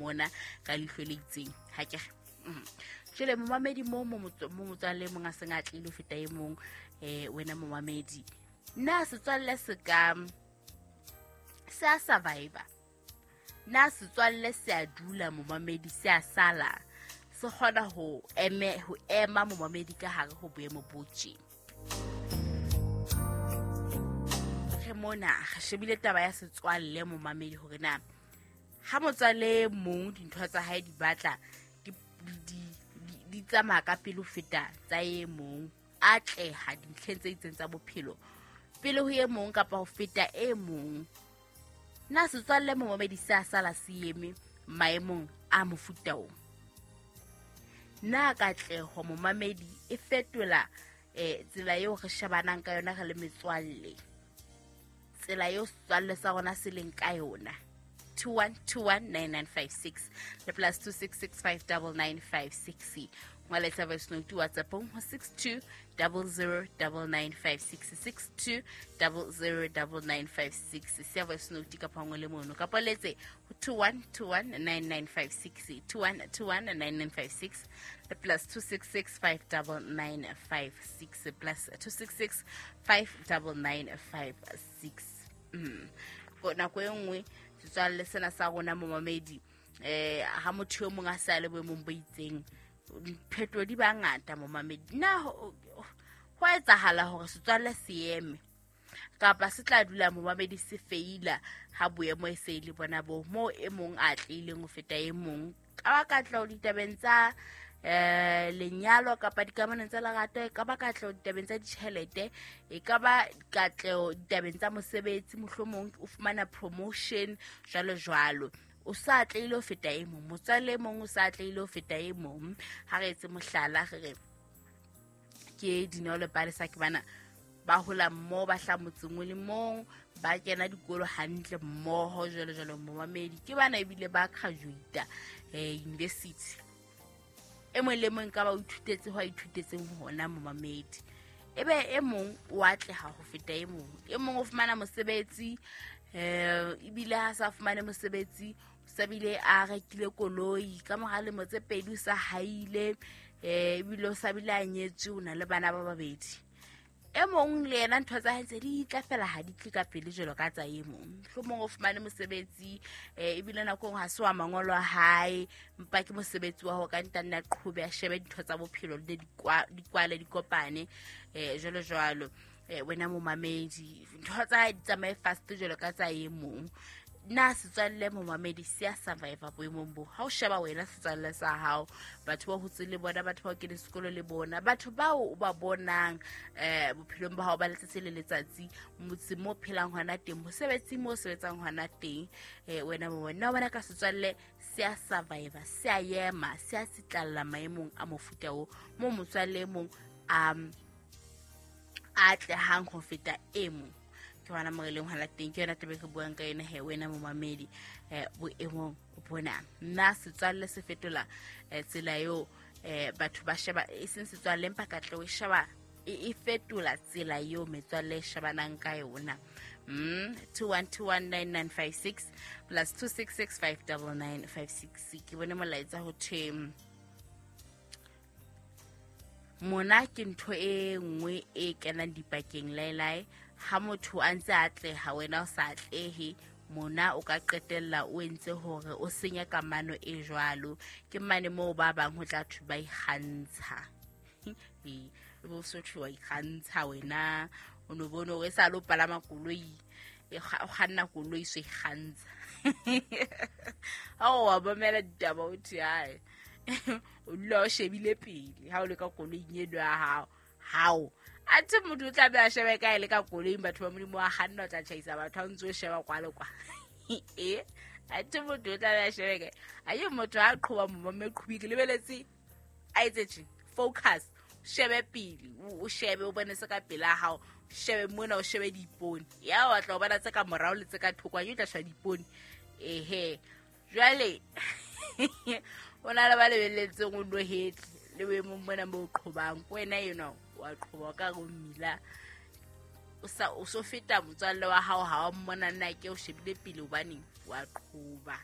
mmona ka leihlo le itseng ha ke jwale momamedi mo motswalle mong a seng a tlile ho feta e mong wena momamedi na setswalle se ka se a survivor na setswalle se a dula momamedi se a sala se kgona ho ema momamedi ka hare ho boemo bo tje. Re mona re shebile taba ya setswalle momamedi hore na ha motswalle mong dintho tsa hae di batla di tsamaya ka pele ho feta tsa e mong, atleha dintlheng tse itseng tsa bophelo pele ho e mong kapa ho feta e mong, na setswalle momamedi se a sala se eme maemong a mofuta o? Na katleho momamedi e fetola tsela eo re shebanang ka yona re le metswalle, tsela eo setswalle sa rona se leng ka yona? 21219956 le plus 266599956. Ngwaletsa voice note WhatsApp-ong ho 62009956, 62009956. Siya voice note kapa ngwe le mono kapa letse ho 21219956, 21219956 le plus 266599956, plus 266599956. Nako e nngwe setswalle sena sa rona momamedi ha motho yo mong a sa le boemong bo itseng, diphetho di ba ngata momamedi. Na ho etsahala hore setswalle se eme kapa se tla dula momamedi se feila ha boemo e se le bona bo mo e mong a tlileng ho feta e mong ka ba katleho ditabeng tsa lenyalo kapa dikamanong tsa lerato, e ka ba katleho ditabeng tsa ditjhelete, e ka ba katleho ditabeng tsa mosebetsi, mohlomong o fumana promotion jwalo jwalo, o sa atlehile ho feta e mong, motswalle e mong o sa atlehile ho feta e mong. Ha re etse mohlala, re re ke Dineo le Palesa ke bana ba hola mmoho, ba hlaha motseng o le mong, ba kena dikolo hantle mmoho jwalo jwalo momamedi. Ke bana ebile ba graduate university, e mong le mong ka ba o ithutetse ho a ithutetseng hona momamedi, ebe e mong o atleha ho feta e mong, e mong o fumana mosebetsi ebile ha sa fumane mosebetsi o sa bile a rekile koloi ka mora lemo tse pedi o sa haile, ebile o sa bile a nyetswe, o na le bana ba babedi. E mong le yena ntho tsa hae tse di tla fela ha di tle ka pele jwalo ka tsa e mong, mohlomong o fumane mosebetsi ebile nako engwe ha se wa mangolo a hae, mpa ke mosebetsi wa ho ka ntanne a qhobe a shebe dintho tsa bophelo le di kwale di kopane jwalo jwalo. Wena momamedi ntho tsa hae di tsamaye fast jwalo ka tsa e mong. Na setswalle momamedi se a survivor boemong bo? Ha o sheba wena setswalle sa hao, batho ba hotse le bona, batho ba o keneng sekolo le bona, batho bao o ba bonang bophelong ba hao ba letsatsi le letsatsi, motseng mo phelang hona teng, mosebetsing mo sebetsang hona teng, wena momamedi, na o bona ka setswalle se a survivor, se a ema, se a tsitlalla maemong a mofuta o mo motswalle e mong a atlehang ho feta e mong? Ke hona mo re leng hona teng, ke yona taba e re buang ka yona he wena momamedi boemong bona. Na setswalle se fetola tsela eo batho ba sheba, e seng setswalle empa katleho e sheba e fetola tsela eo metswalle e shebanang ka yona. 21219956 plus 266599956. Ke bone molaetsa ho thwe mona ke ntho e nngwe e kenang dipakeng laelae. Ha motho a ntse a atleha wena o sa atlehe, mona o ka qetella o entse hore o senye kamano e jwalo. Ke mane moo ba bang ho tla thwe ba ikgantsha. E bo so thwe wa ikgantsha wena, o no bone hore e sa le o palama koloi, o kganna koloi so ikgantsha. Ha o wa mamela ditaba o thwe hae, o dula o shebile pele ha o le ka koloing eno ya hao. Hao athe motho o tla be a shebe kae le ka koloing, batho ba Modimo wa kganna o tla tjhaisa batho ha o ntse o sheba kwa le kwa. Athe motho o tla be a shebe kae? Aye motho ha qhoba momamme qhobi ke lebeletse a etse tje focus, shebe pele, o shebe o bone se ka pela hao, shebe mona o shebe diipone, ya wa tla o bona tse ka morao le tse ka thoko, o tla sheba diipone. Ehe jwale o na le ba lebelletseng o no hetle le boemong bona bo qhobang, ko wena enwa wa qhoba ka go mmila, o so feta motswalle wa hao ha wa mmona nna ke o shebile pele hobane wa qhoba.